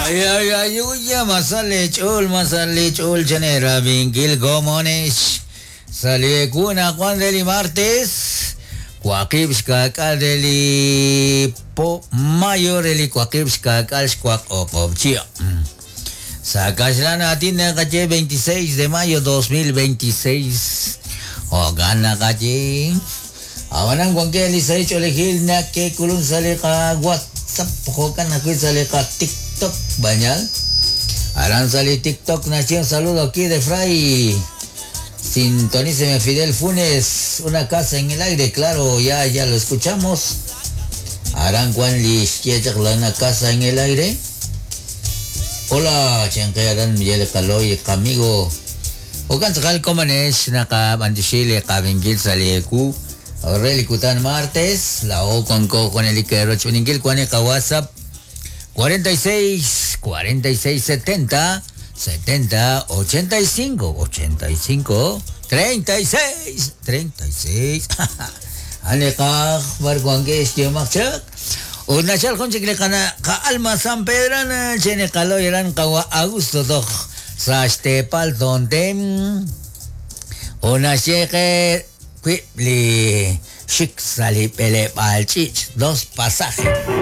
Ay, ay, ay, uya, masale ch'ol, masale ch'ol, chane rabinkil gomonesh. Sale kuna Juan del martes. Cuaqib xkak'al del po mayo del cuaqib xkak'al xcuaq oqobchia. Sakaxlan atin nakache 26 de mayo 2026. Ogan nakache. Awanan guanque lisay cholejil na ke kulun salika WhatsApp hokan na salika TikTok bañal. Aran sali TikTok nació un saludo aquí de Fray. Sintoníceme Fidel Funes, una casa en el aire, claro, ya, ya lo escuchamos. Aran Juan una casa en el aire. Hola, Chancayaran Miguel Caloy, amigo. Okan sakal komanes, naka bandishile kabingil salieku. Aureli martes, la o con co con el Iquero Chuningil, Cuaneca WhatsApp 46 46 70 70 85 85 36 36. Ane ka barguangue este Una chal con kana ka alma San Pedrana chene kaloy ran kawa Augusto doj sastepal donde una cheque li shik sali pele balchich dos pasajes.